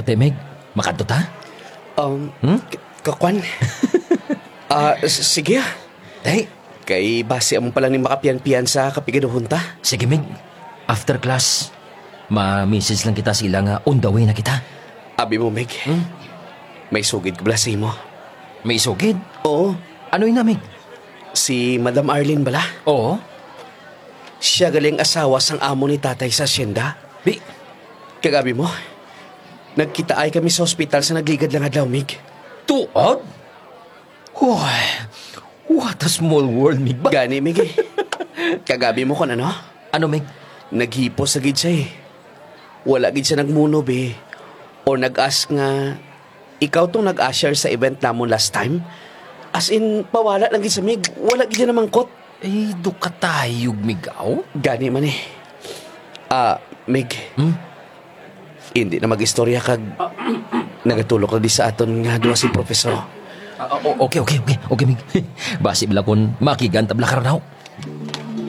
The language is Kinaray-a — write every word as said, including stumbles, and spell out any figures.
Te, Mig, makadto ta? Um, Hmm? k-, kakwan. Ah, s-, sige, ah. Te. Kay basi amo pa lang ni makapiyanpiyansa kapigaduhon ta. Sige, Mig. After class, ma-message lang kita sa ila nga on the way na kita. Abi mo, Mig. Hmm? May sugid ko bala sa imo. May sugid? Oo. Ano ina, Mig? Si Madam Arlene bala? Oo. Siya gali ang asawa sang amo ni tatay sa asyenda. Bi- Kag abi mo, nagkitaay kami sa ospital sa nagligad lang adlaw, Mig. Tuod? Uy, what a small world, Mig. Ba- Gani, Mig, eh. Kag abi mo kon ano? Ano, Mig? Naghipos na gid siya, eh. Wala gid siya nagmuno, be. Or nag-ask nga, ikaw tong nag-usher sa event namon last time? As in, pawala lang gid siya, Mig. Wala gid siya namangkot. Ay, dukatayog, Mig, aw. Gani man, eh. Ah, Mig. Hmm? Indi na mag-istorya kag nagatulok na di sa aton nga duha si Professor. Ah, o-, okay, okay, okay. Okay, Mig. Basi bala kon makigan ta bala karon, haw.